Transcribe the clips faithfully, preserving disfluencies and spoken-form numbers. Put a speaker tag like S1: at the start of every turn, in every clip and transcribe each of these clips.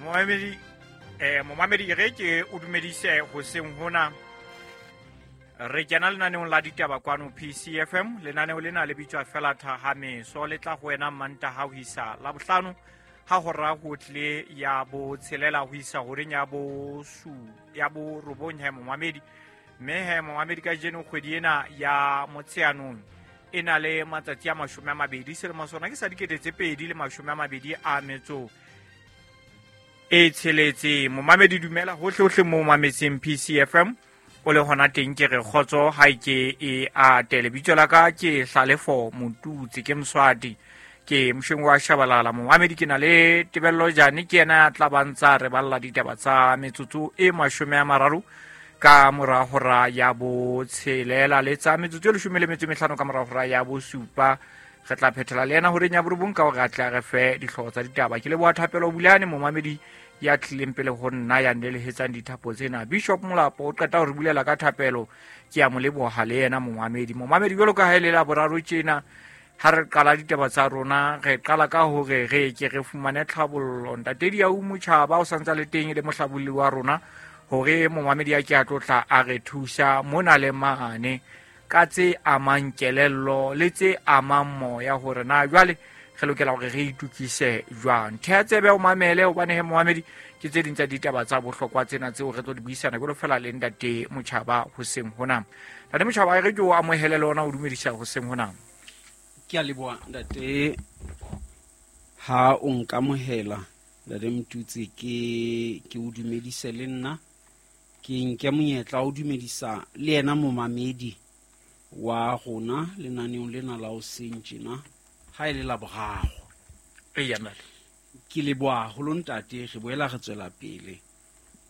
S1: Momamedi, eh momamedi re ke o dumedise hoseng hona. Re kena lenaneong la ditaba kwano P C F M. Lenaneo lena le bitswa fela Thahameso, le tla ho wena Mantaha ho isa Labohlano ha hora ho tle ya botshelela ho isa horeng ya bosu ya borobong he momamedi. Mme he momamedi kajeno kgwedi ena ya Motsheanong e na le matsatsi a mashome a mabedi, selemo sona ke sa dikete tse pedi le mashome a mabedi a metso e tsheletse. Momamedi dumela hohle hohle mo mametseng P C F M o le hona teng, ke re kgotso ha e ke e atele. Lebitso la ka ke Hlalefo Motutsi, ke Mswati, ke mosheng wa Shabalala. Momamedi ke na le Tebello Jane, ke yena ya tla ba ntsa re balla ditaba tsa metsotso e mashome a mararo ka mora hora ya botshelela le tsa metsotso e leshome le metso e mehlano ka mora hora ya bosupa. Re tla phethela le yena horeng ya borobong ka hore a tle a re fe dihlooho tsa ditaba. Ke leboha Thapelo Bulane, momamedi ya tlileng pele ho nna ya ndelehetsang dithapo tsena. Bishop Molapo o qeta ho re bulela ka thapelo, ke a mo leboha le yena momamedi. Momamedi jwalo ka ha e le la boraro tjena ha re qala ditaba tsa rona, re qala ka hore re ke re fumane tlhabollo. Ntate Diau Motjhaba o santsa le teng le mohlabolli wa rona hore momamedi a ke a tlotla a re thusa mona le mane ka tse amang kelello le tse amang moya, hore na jwale re lokela hore re itukise jwang. Theha tsebe o mamele, hobane he momamedi ke tse ding tsa ditaba tsa bohlokwa tsena tseo re tlo di buisana jwalo fela le Ntate Motjhaba hoseng hona. Ntate Motjhaba, re ke o amohele le ona o dumedisa hoseng hona.
S2: Ke a leboha ntate ha o nkamohela, Ntate Motutsi, ke ke o dumedise le nna. Ke nke monyetla o dumedisa le yena momamedi wa rona lenaneong lena la hoseng tjena ha e le la boraro.
S1: Eya, ntate.
S2: Ke leboha haholo ntate, re boela re tswela pele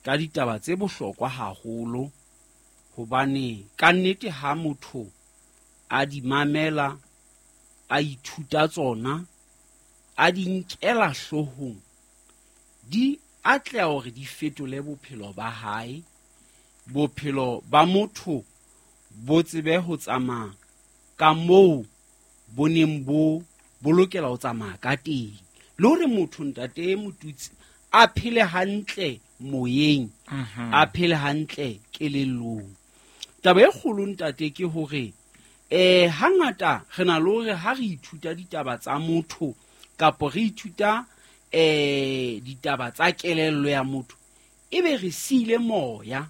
S2: ka ditaba tse bohlokwa haholo, hobane ka nnete ha motho a di mamela, a ithuta tsona, a di nkela hloohong, di atleha hore di fetole bophelo ba hae. Bophelo ba motho bo tsebe ho tsamaya ka moo bo neng bo bo lokela ho tsamaya ka teng, le hore motho Ntate Motutsi a phele hantle moyeng,
S1: Mhm.
S2: a phele hantle kelellong. Taba e kgolo ntate ke hore eh hangata re na le hore ha re ithuta ditaba tsa motho kapo re ithuta eh ditaba tsa kelello ya motho, ebe re siile moya.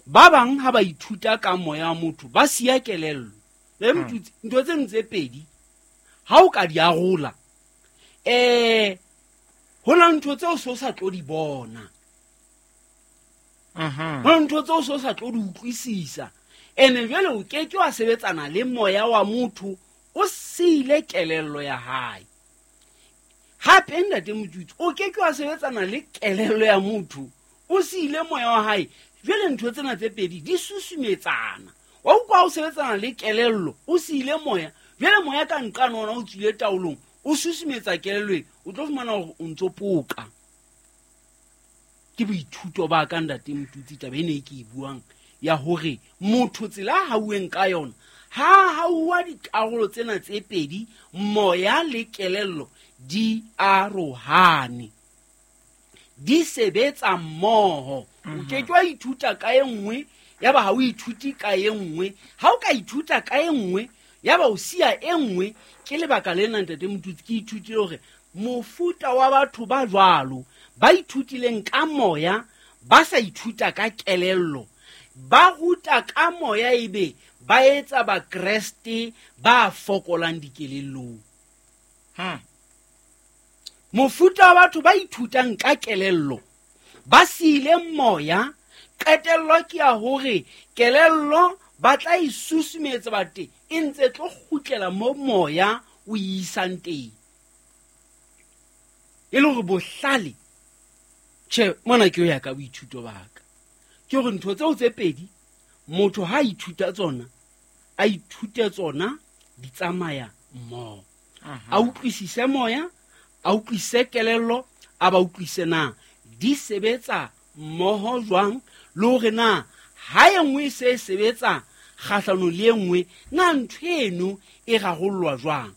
S2: Ba bang ha ba ithuta ka moya wa motho ba siya kelello. Le
S1: Hmm.
S2: Motutsi, ntho tseno tse pedi ha o ka di arola, eh ho na ntho tseo so sa tlo di bona.
S1: Mhm.
S2: Ho na ntho tseo so sa tlo di utlwisisa. Ene jwale o ke ke wa sebetsana le moya wa motho o siile kelello ya hae. Hape Ntate Motutsi, o ke ke wa sebetsana le kelello ya motho o siile moya wa hae. Jwale ntho tsena tse pedi di susumetsana. Wa utlwa ha o sebetsana le kelello o siile moya, jwale moya ka nqane ona o tswile taolong, o susumetsa kelello e, o tlo fumana hore o ntso poka. Ke boithuto ba ka Ntate Motutsi, taba ena e ke e buang ya hore motho tsela a hauweng ka yona, ha hauwa dikarolo tsena tse pedi, moya le kelello di arohane, di sebetsa mmoho. O ke ke wa ithuta ka e nngwe, ya ba ha o ithute ka e nngwe. Ha o ka ithuta ka e nngwe, ya ba o siya e nngwe. Ke lebaka lena Ntate Motutsi ke ithutile hore mofuta wa batho ba jwalo ba ithutileng ka moya, ba sa ithuta ka kelello, ba ruta ka moya ebe ba etsa bakreste ba fokolang dikelellong.
S1: Hmm.
S2: Mofuta wa batho ba ithutang ka kelello ba siile moya, qetello ke ya hore kelello ba tla e susumetsa ba teng e ntse tlo kgutlela mo moya o e isang teng. E le hore bohlale, tjhe, mona ke ho ya ka boithuto ba ka, ke hore ntho tseo tse pedi motho ha a ithuta tsona, a ithute tsona di tsamaya mmoho.
S1: Mhm.
S2: A utlwisise moya, a utlwisise kelello, a ba utlwisise na di sebetsa mmoho jwang, le hore na ha e nngwe e se e sebetsa kgahlanong le e nngwe, na ntho eno e rarollwa jwang.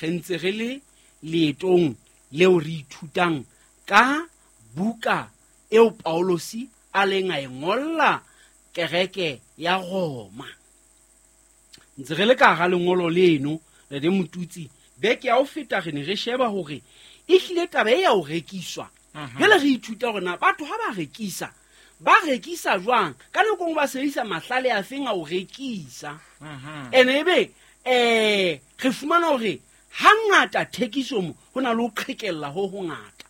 S2: Re ntse re le leetong leo re ithutang ka buka eo Paulosi a leng a e ngolla kereke ya Roma. Ntse re le ka hara lengolo leno Ntate Motutsi, beke ya ho feta re ne re sheba hore ehlile taba e ya ho rekiswa. Jwale re ithuta hore na batho ha ba rekisa ba rekisa jwang, ka nako nngwe ba sebedisa mahlale a feng a ho rekisa. Ene ebe eh re fumana hore hangata thekiso mo ho na le ho qhekella ho hongata.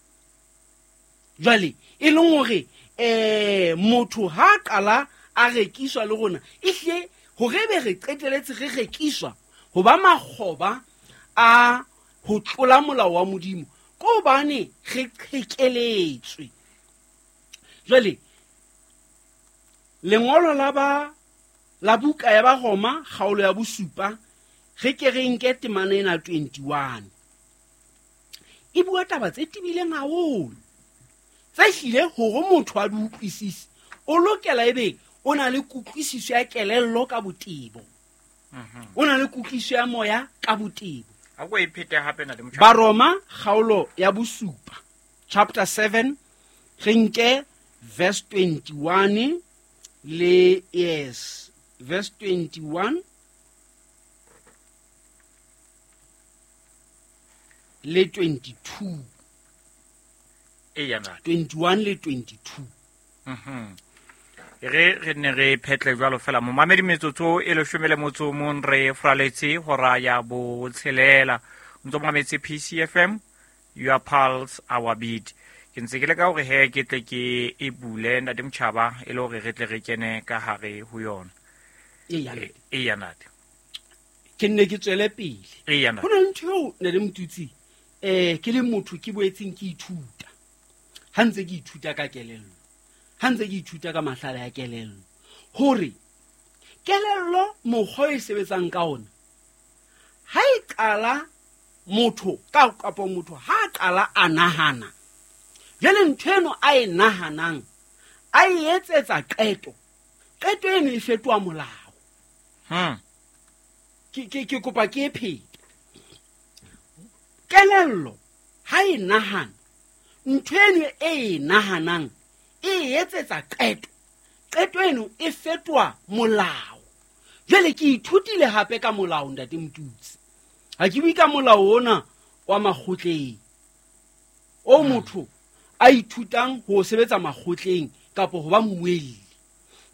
S2: Jwale e leng hore eh motho ha qala a rekiswa le rona, ehlile hore be re qeteletse re rekiswa ho ba makgoba a ho tlola molao wa Modimo, ko hobane re qhekeletswe. Jwale lengolo la ba la buka ya ba Roma kgaolo ya bosupa, re ke re nke temana ena twenty-one. E bua taba tse tebileng haholo, tse hlile hore motho a di utlwisise o lokela ebe o na le kutlwisiso ya kelello ka botebo, o na le kutlwisiso ya moya ka botebo.
S1: A ko e phete hape na le motjha.
S2: Baroma kgaolo ya bosupa chapter seven, re nke verse twenty-one le yes verse twenty-one le twenty-two.
S1: Eya na
S2: twenty-one le twenty-two.
S1: Mhm. Re re ne re phetle jwalo fela momamedi metsotso e leshome le motso o mong re fraletse hora ya botshelela. O ntso mametse P C F M, your pulse our beat. Ke ntse ke leka hore he ke tle ke e bule Ntate Motjhaba e le hore re tle re kene ka hare ho yona.
S2: Eya.
S1: Eya ntate.
S2: Ke nne ke tswele pele.
S1: Eya ntate.
S2: Ho na le ntho eo Ntate Motutsi, eh ke le motho ke boetseng ke ithuta. Ha ntse ke ithuta ka kelello, ha ntse ke ithuta ka mahlale a kelello, hore kelello mokgwa e sebetsang ka ona, ha e qala motho ka kapa motho ha a qala a nahana, jwale ntho eno a e nahanang a e etsetsa qeto, qeto eno e fetoha molao.
S1: Hmm.
S2: Ke, ke, ke kopa ke e phete. Kelello ha e nahana, ntho eno e e nahanang e etsetsa qeto, qeto eno e fetoha molao. Jwale ke ithutile hape ka molao Ntate Motutsi. Ha ke bue ka molao ona wa makgotleng o motho a ithutang ho sebetsa makgotleng kapa ho ba mmuelli.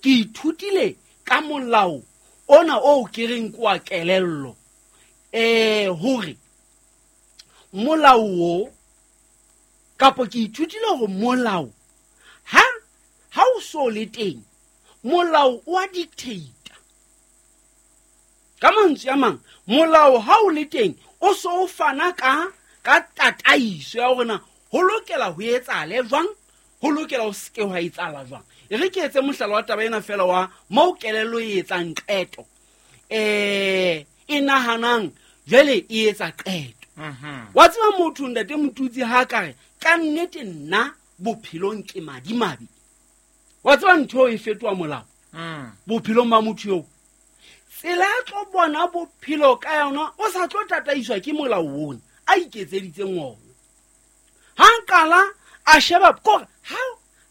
S2: Ke ithutile ka molao ona o ke reng ke wa kelello, eh hore molao o kapa ke ithutile hore molao ha ha o so le teng, molao o a dictate. Ka mantswe a mang, molao ha o le teng o so o fana ka ka tataiso ya hore na ho lokela ho etsahale jwang, ho lokela ho se ke hwa etsahala jwang. E re ke etse mohlala wa taba ena fela wa moo kelello e etsang qeto, eh e nahanang jwale e etsa qeto.
S1: Mhm.
S2: Wa tseba motho Ntate Motutsi ha ka re ka nnete nna bophelong ke madimabe, wa tseba ntho e fetoha molao
S1: Mm.
S2: bophelong ba motho eo. Tsela a tlo bona bophelo ka yona o sa tlo tataiswa ke molao ona a iketseditseng ona. Ha nkala a sheba kore ha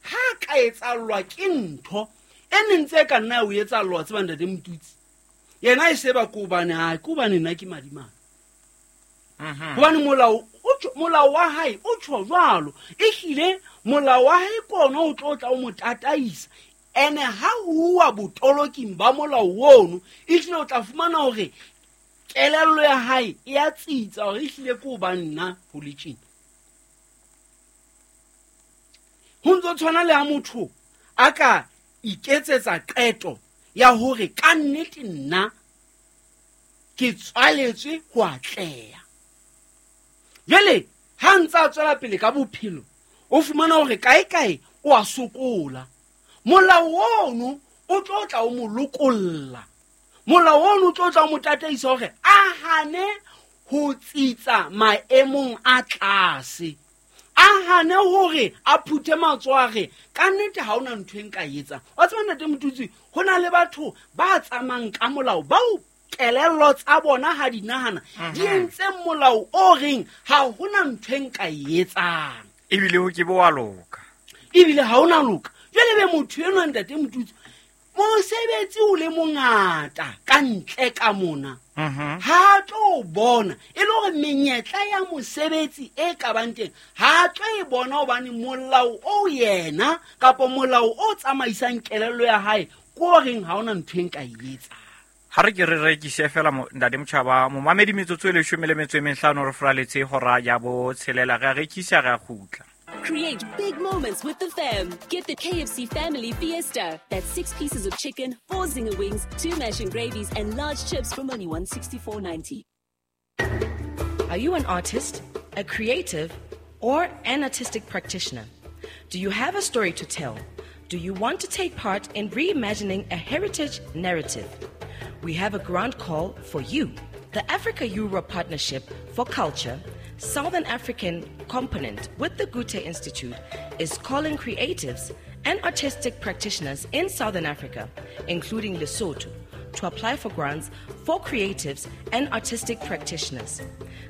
S2: ha ka etsallwa ke ntho e neng tse ka nna ya o etsallwa, tseba Ntate Motutsi, yena e seba ko hobane ha ke hobane nna ke madimabe.
S1: Mhm.
S2: Hobane molao o tjho, molao wa hae o tjho jwalo, ehlile molao wa hae ke ona o tlo tla o mo tataisa. Ene ha huwa botoloking ba molao ono, ehlile o tla fumana hore kelello ya hae e a tsitsa hore ehlile ke hobane nna ho le tjena. Ho ntso tshwana le ha motho a ka iketsetsa qeto ya hore ka nnete nna ke tswaletswe ho atleha. Jwale ha ntse a tswela pele ka bophelo, o fumana hore kae kae o a sokola. Molao ono o tlo tla o mo lokolla. Molao ono o tlo tla o mo tataisa hore a hane ho tsitsa maemong a tlase, a hane hore a phuthe matsoho a re ka nnete ha hona ntho e nka e etsang. Wa tseba Ntate Motutsi, ho na le batho ba tsamayang ka molao bao kelello tsa bona ha di nahana di entse molao o reng ha hona ntho e nka e etsang,
S1: Ebile ho ke bo wa loka.
S2: Ebile ha ona loka. Jwale be motho enwa ntate Motutsi mosebetsi o le mongata ka ntle ka mona.
S1: Mhm.
S2: Ha tlo bona e le hore menyetla ya mosebetsi e ka bang teng ha tlo e bona hobane molao o yena kapa molao o tsamaisang kelello ya hae ko reng ha ona ntho e nka e etsang.
S1: Ha re ke re rekise fela mo ntate Motjhaba momamedi metsotso e leshome le metso e mehlano re fraletse hora ya botshelela re a rekisa re a kgutla.
S3: Create big moments with the fam. Get the K F C Family Fiesta. That's six pieces of chicken, four zinger wings, two mash and gravies, and large chips from only one sixty-four ninety.
S4: Are you an artist, a creative, or an artistic practitioner? Do you have a story to tell? Do you want to take part in reimagining a heritage narrative? We have a grant call for you. The Africa-Europe Partnership for Culture, Southern African component with the Goethe Institute, is calling creatives and artistic practitioners in Southern Africa, including Lesotho, to apply for grants for creatives and artistic practitioners.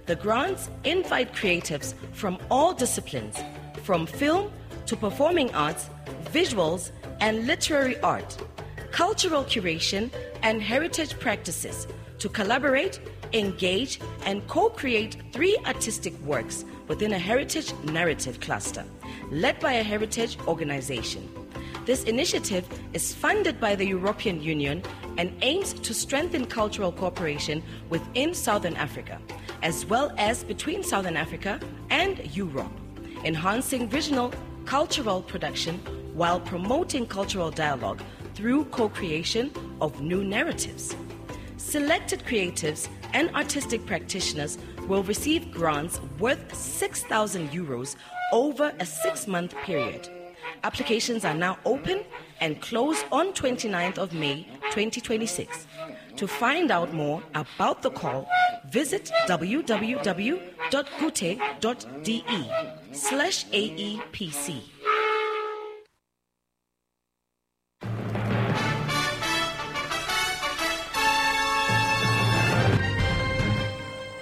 S4: The grants invite creatives from all disciplines, from film to performing arts, visuals and literary art, cultural curation and heritage practices, to collaborate, engage, and co-create three artistic works within a heritage narrative cluster, led by a heritage organization. This initiative is funded by the European Union and aims to strengthen cultural cooperation within Southern Africa, as well as between Southern Africa and Europe, enhancing regional cultural production while promoting cultural dialogue through co-creation of new narratives. Selected creatives and artistic practitioners will receive grants worth six thousand euros over a six-month period. Applications are now open and close on twenty-ninth of May twenty twenty-six. To find out more about the call, visit w w w dot goethe dot d e slash A E P C.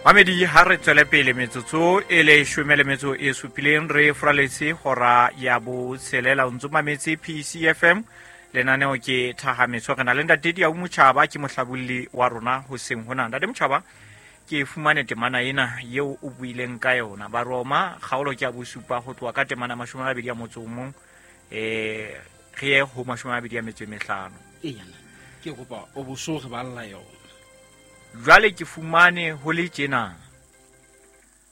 S1: Mamedi ha re tswele pele metsotso e leshome le metso e supileng re fraletse hora ya botshelela. O ntso mametse P C F M, lenaneo ke Thahametso. Re na le ntate Diau Motjhaba, ke mohlabolli wa rona hoseng hona. Ntate Motjhaba, ke fumane temana ena eo o buileng ka yona. Baroma kgaolo ke ya bosupa ho tloha ka temana mashome a mabedi a motso o mong, eh, re ye ho mashome a mabedi a metso e mehlano.
S2: Eya, ke kopa o bo so re balla yona.
S1: Jwale ke fumane ho le tjena.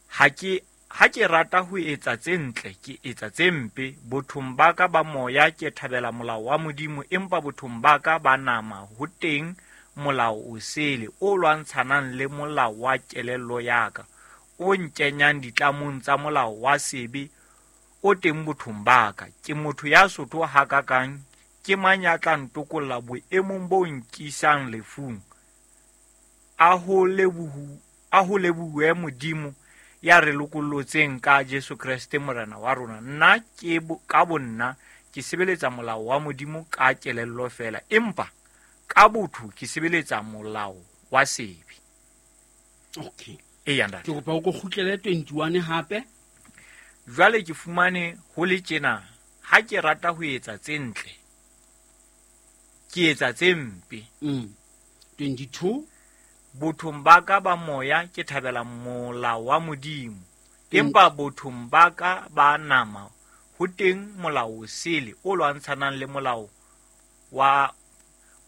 S1: Ha ke, ha ke rata ho etsa tse ntle, ke etsa tse mpe. Bothong ba ka ba moya ke thabela molao wa Modimo, empa bothong ba ka ba nama ho teng molao o sele o lwantshanang le molao wa kelello ya ka, o nkenyang ditlamong tsa molao wa sebe o teng bothong ba ka. Ke motho ya sotho hakakang, ke mang ya tla ntokolla boemong bo nkisang lefung? A ho lebohu, a ho lebohuwe Modimo ya re lokollotseng ka Jesu Kreste Morena wa rona. Nna ke bo, ka bonna ke sebeletsa molao wa Modimo ka kelello feela, empa ka botho ke sebeletsa molao wa sebe.
S2: Okay.
S1: Eya, ntate.
S2: Ke kopa o ko kgutlele twenty-one hape.
S1: Jwale ke fumane ho le tjena, ha ke rata ho etsa tse ntle, ke etsa tse mpe.
S2: Mm. twenty-two.
S1: Bothong ba ka ba moya ke thabela molao wa Modimo, empa bothong ba ka ba nama ho teng molao o sele o lwantshanang le molao wa,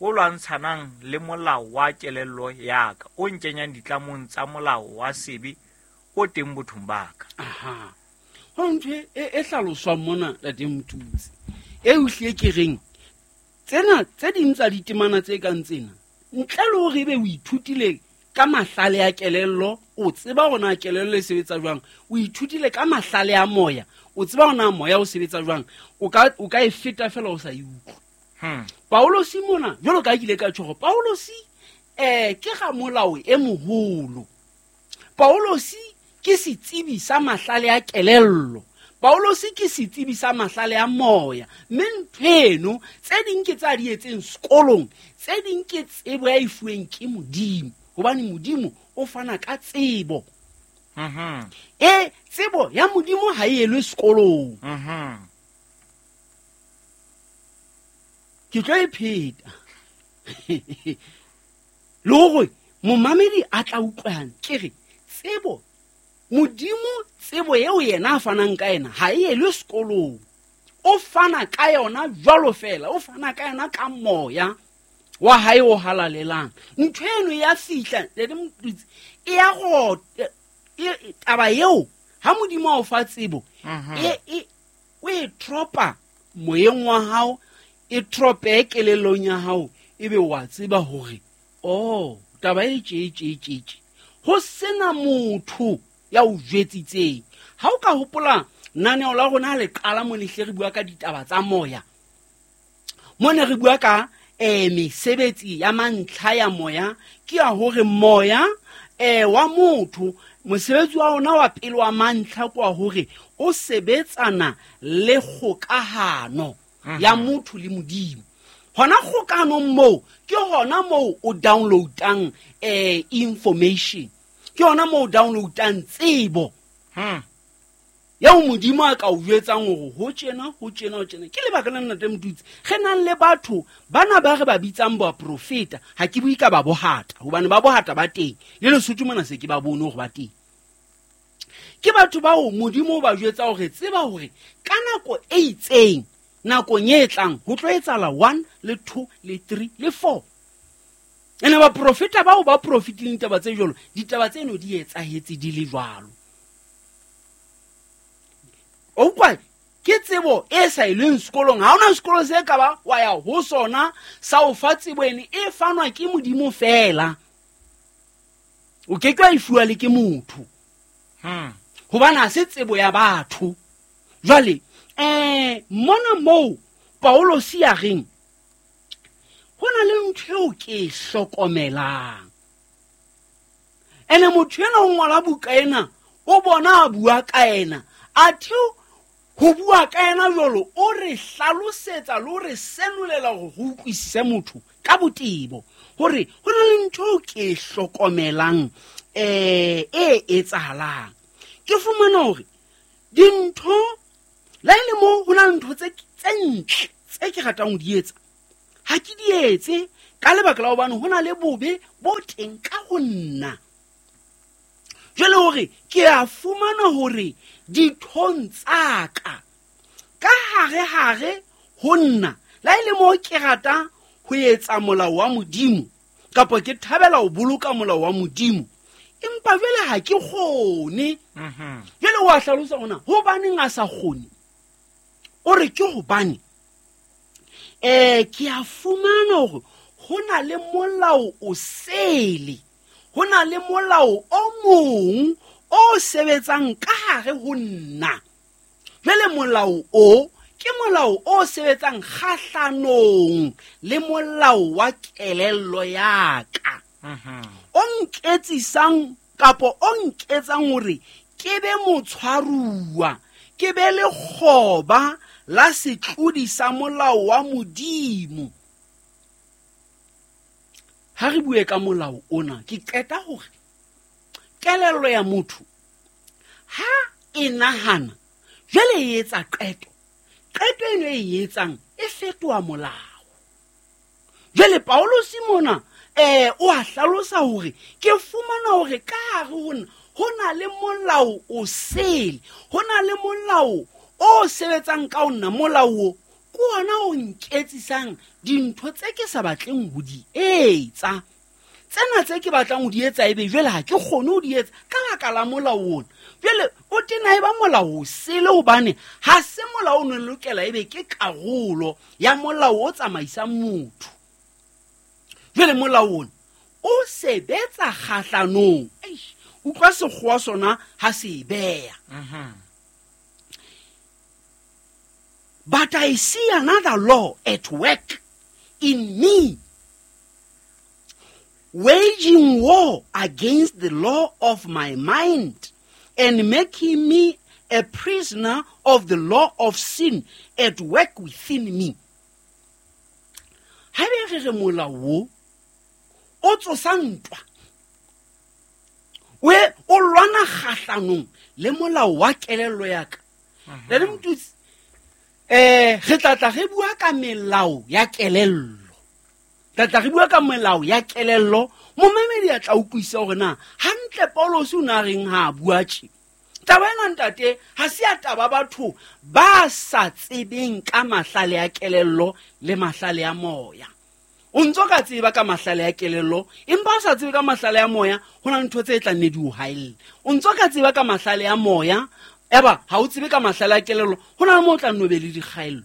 S1: o lwantshanang le molao wa kelello ya ka, o nkenyang ditlamong tsa molao wa sebe o teng bothong ba ka.
S2: Aha. Ho ntho e, e hlaloswang mona, Ntate Motutsi, e utlwe ke reng tsena tse ding tsa ditemana tse kang tsena, ntle le hore ebe o ithutile ka mahlale a kelello, o tseba hore na kelello e sebetsa jwang, o ithutile ka mahlale a moya, o tseba hore na moya o sebetsa jwang, o ka, o ka e feta fela o sa e utlwe.
S1: Hmm.
S2: Paulosi mona, jwalo ka ha ke ile ka tjho hore Paulosi, eh, ke ramolao e moholo. Paulosi ke setsebi sa mahlale a kelello. Paulosi ke setsebi sa mahlale a moya. Mme ntho eno, tse ding ke tsa di etseng sekolong, tse ding ke tsebo ya e fuweng ke Modimo. Hobane Modimo o fana ka tsebo.
S1: Mhm.
S2: E, tsebo ya Modimo ha e elwe sekolong.
S1: Mhm.
S2: Ke tlo e pheta le gore momamedi a tla utlwang ke re tsebo Modimo tsebo eo yena a fanang ka yena ha e elwe sekolong, o fana ka yona jwalo fela, o fana ka yona ka moya wa hae o halalelang. Ntho eno ya fihla le Motutsi e ya go taba eo ha Modimo a o fa tsebo e e o e tropa moyeng wa hao, e trope kelellong ya hao, ebe wa tseba hore oh taba e tje tje tje tje ho sena motho ya o jwetsitseng. Ha o ka hopola naneo la rona le qala mo lehle re bua ka ditaba tsa moya, mo ne re bua ka eh mesebetsi ya mantlha ya moya, ke ya hore moya eh wa motho mosebetsi wa ona wa pele wa mantlha kwa hore o sebetsana le kgokahano ya motho le Modimo. Hona kgokahanong moo ke hona moo o downloadang eh information, ke hona moo o downloadang tsebo
S1: Hmm.
S2: eo Modimo a ka o jwetsang hore ho tjena ho tjena ho tjena. Ke lebaka la Ntate Motutsi re nang le batho bana ba re ba bitsang baprofeta. Ha ke bue ka ba bohata hobane ba bohata ba teng le Lesotho mona se ke ba bone hore ba teng. Ke batho bao Modimo o ba jwetsa hore tseba hore ka nako e itseng nakong e tlang ho tlo etsahala one le two le three le four. Ene baprofeta bao ba profetileng ditaba tse jwalo, ditaba tseno di etsahetse di le jwalo. O utlwa ke tsebo e sa ileng sekolong, ha hona sekolo se ka ba wa ya ho sona sa o fa tsebo ene e fanwa ke Modimo fela. O ke ke wa e fuwa le ke motho.
S1: Hmm.
S2: Hobane ha se tsebo ya batho. Jwale eh mona moo Paulosi a reng ho na le ntho eo ke e hlokomelang. Ene motho ena o ngola buka ena, o bona a bua ka ena, athe ho bua ka ena jwalo o re hlalosetsa le ho re senolela hore ho utlwisise motho ka botebo hore ho na le ntho eo ke e hlokomelang eh e etsahalang. Ke fumana hore dintho la e le moo ho na le ntho tse tse ntle tse ke ratang ho di etsa ha ke di etse ka lebaka la hobane ho na le bobe bo teng ka ho nna. Jwale hore ke a fumana hore dithong tsa ka ka hare hare ho nna la e le moo ke rata ho etsa molao wa Modimo kapa ke thabela ho boloka molao wa Modimo, empa jwale ha ke kgone.
S1: Mhm.
S2: Jwale wa hlalosa hona hobaneng a sa kgone. O re ke hobane eh ke a fumana hore ho na le molao o sele, ho na le molao o mong o sebetsang ka hare ho nna. Jwale molao o ke molao o sebetsang kgahlanong le molao wa kelello ya ka.
S1: Mhm.
S2: O nketsisang kapo o nketsang hore ke be motshwaruwa, ke be lekgoba la setlodi sa molao wa Modimo. Ha re bue ka molao ona, ke qeta hore kelello ya motho ha e nahana jwale e etsa qeto, qeto eno e etsang e fetoha molao. Jwale Paulosi mona eh o a hlalosa hore ke fumana hore ka hare ho nna ho na le molao o sele, ho na le molao o sebetsang ka ho nna. Molao o ke ona o nketsisang dintho tse ke sa batleng ho di etsa. Tsena tse ke batlang ho di etsa ebe jwale ha ke kgone ho di etsa ka baka la molao ona. Jwale o tena e ba molao o sele hobane ha se molao o no lokela ebe ke karolo ya molao o tsamaisang motho. Jwale molao ona o sebetsa kgahlanong. Eish, utlwa sekgowa sona ha se e beha.
S1: Mhm.
S2: But I see another law at work in me, waging war against the law of my mind and making me a prisoner of the law of sin at work within me. Ha be re re molao o, o tsosa ntwa, o e, o lwana kgahlanong le molao wa kelello ya ka. Le le Motutsi, Um re tla tla re bua ka melao ya kelello, tla tla re bua ka melao ya kelello. Momamedi a tla utlwisisa hore na hantle Paulus o na reng ha a bua tje. Taba ena ntate ha se ya taba batho ba sa tsebeng ka mahlale a kelello le mahlale a moya. O ntso ka tseba ka mahlale a kelello, empa o sa tsebe ka mahlale a moya, ho na le ntho tse tla nne di o haella. O ntso ka tseba ka mahlale a moya, eba ha o tsebe ka mahlale a kelello, ho na le moo o tla nno be le dikgaello.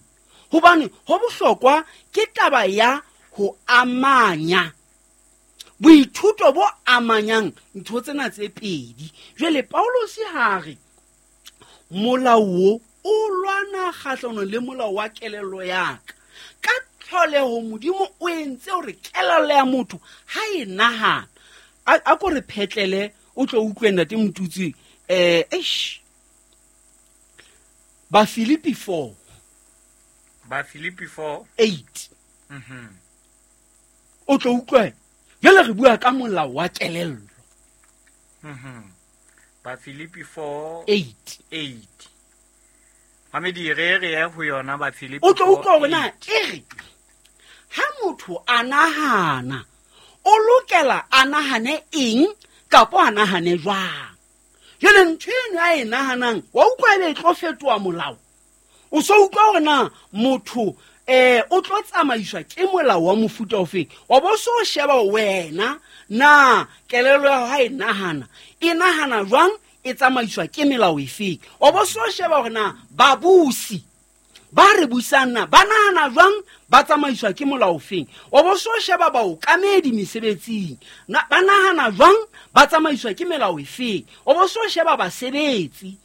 S2: Hobane ho bohlokwa ke taba ya ho amanya boithuto bo amanyang ntho tsena tse pedi. Jwale Paulus ha re molao o o lwana kgahlanong le molao wa kelello ya ka. Ka tlholeho Modimo o entse hore kelello ya motho ha e nahana. A ko re phetlele o tlo utlwe ntate Motutsi, eh eish. Ba Filipi four.
S1: Ba Filipi four
S2: eight.
S1: Mhm.
S2: O tlo utlwe. Jwale re bua ka molao wa kelello.
S1: Mhm. Ba Filipi four
S2: eight.
S1: eight. Mamedi re re ya ho yona ba Filipi
S2: O tlo utlwa hore na
S1: eight.
S2: e re ha motho a nahana o lokela a nahane eng kapa a nahane jwang. Jwale ntho eno a e nahanang wa utlwa ebe e tlo fetoha molao. O so utlwa hore na motho eh o tlo tsamaiswa ke molao wa mofuta ofeng. Wa bo so sheba wena na kelello ya hao ha e nahana e nahana jwang, e tsamaiswa ke melao efeng. Wa bo so sheba hore na babusi ba re busang na ba nahana jwang, ba tsamaiswa ke molao ofeng. Wa bo so sheba baokamedi mesebetsing na ba nahana jwang, ba tsamaiswa ke melao efeng. Wa bo so sheba basebetsi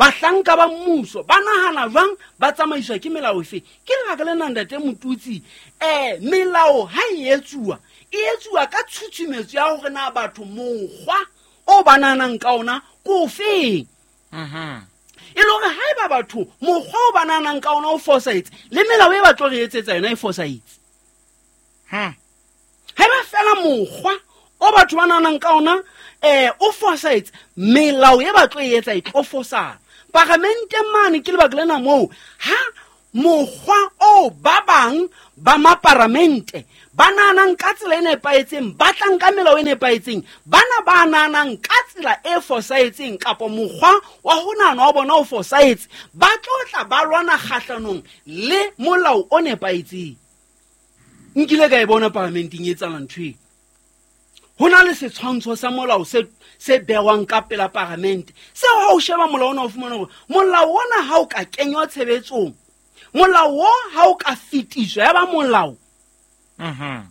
S2: bahlanka ba mmuso ba nahana jwang, ba tsamaiswa ke melao efe. Ke lebaka lena ntate Motutsi, eh melao ha e etsuwa e etsuwa ka tshutshumetso ya hore na batho mokgwa o ba nahanang ka ona ke ofeng.
S1: Mhm.
S2: E le hore haeba batho mokgwa o ba nahanang ka ona o fosahetse, le melao e ba tlo re etsetsa yona e fosahetse.
S1: Hmm.
S2: Haeba fela mokgwa o batho ba nahanang ka ona eh o fosahetse, melao e ba tlo e etsa e tlo fosana. Paramente mane ke lebaka lena moo ha mokgwa o ba bang ba maparamente ba nahanang ka tsela e nepahetseng, ba tlang ka melao e nepahetseng, bana ba nahanang ka tsela e fosahetseng kapa mokgwa wa ho nahana wa bona o fosahetse, ba tlo tla ba lwana kgahlanong le molao o nepahetseng. Nkile ka e bona paramenteng e etsahala ntho eo. Ho na le setshwantsho sa molao se, se behwang ka pela paramente. Seo ha o sheba molao ona o fumana hore molao ona ha o ka kenywa tshebetsong, molao o ha o ka fetiswa ya ba molao.
S1: Mhm.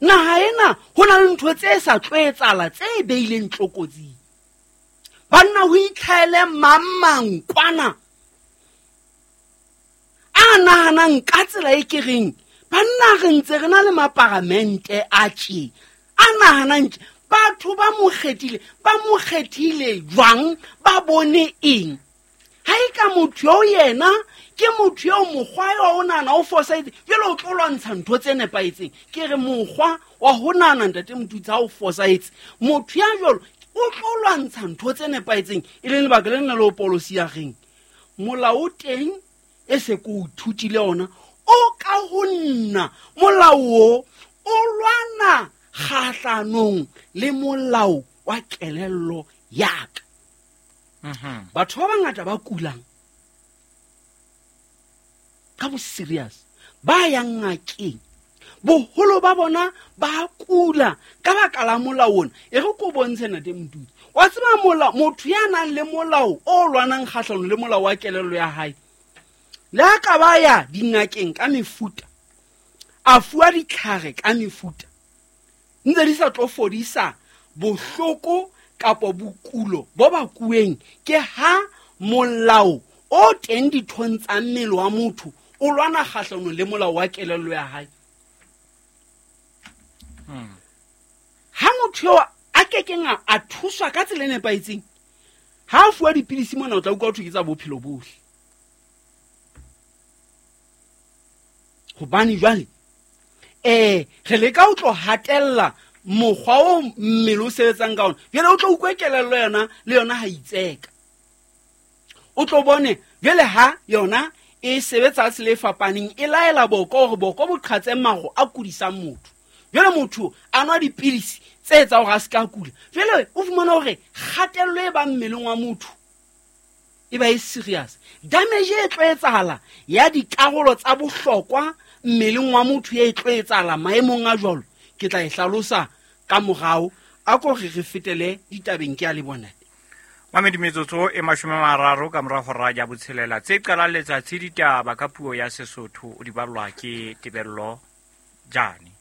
S2: Naha ena ho na le ntho tse sa tlo etsahala tse beileng tlokotsing. Banna ho itlhaele mang mang kwana a nahanang ka tsela e ke reng banna re ntse re na le maparamente a tje a nahanang tje, batho ba mo kgethile, ba mo kgethile jwang, ba bone eng? Ha e ka motho eo yena ke motho eo mokgwa eo o nahana o fosahetse, jwale o tlo lwantsha ntho tse nepahetseng. Ke re mokgwa wa ho nahana ntate Motutsi ha o fosahetse, motho ya jwalo o tlo lwantsha ntho tse nepahetseng. E leng lebaka lena le o Paulus ya reng molao o teng e se ke o ithutile ona o ka ho nna, molao o o lwana kgahlanong le molao wa kelello ya ka.
S1: Mhm.
S2: Batho ba bangata ba kulang ka bo serious ba yang ngakeng, boholo ba bona ba kula ka baka la molao ona. E re ko bontshe ntate Motutsi, wa tseba molao, motho ya nang le molao o lwanang kgahlanong le molao wa kelello ya hae, le ha ka ba ya dingakeng ka mefuta, a fuwa ditlhare ka mefuta, ntse di sa tlo fodisa bohloko kapa bokulo bo bakuweng ke ha molao o teng dithong tsa mmele wa motho o lwana kgahlanong le molao wa kelello ya hae.
S1: Hmm.
S2: Ha motho eo a kekeng a, a thuswa ka tsela e nepahetseng, ha a fuwa dipidisi mona o tla utlwa ho thwe ke tsa bophelo bohle. Hobane jwale eh re leka ho tlo hatella mokgwa o mmele o sebetsang ka ona. Jwale o tlo utlwe kelello yona le yona ha itseka. O tlo bone jwale ha yona e sebetsa ka tsela e fapaneng, e laela boko hore boko bo qhatse maro a kudisang motho. Jwale motho a nwa dipilisi tse etsang hore a se ka kula. Jwale o fumana hore kgatello e bang mmeleng wa motho e ba e serious. Damage e tlo etsahala ya dikarolo tsa bohlokwa mmeleng wa motho e tlo etsahala maemong a jwalo, ke tla e hlalosa ka morao. A ko re re fetele ditabeng, ke a le bona.
S1: Mamedi, metsotso e mashome a mararo ka mora hora ya botshelela, tse qalang letsatsi ditaba ka puo ya Sesotho o di ballwa ke Tebello Jane.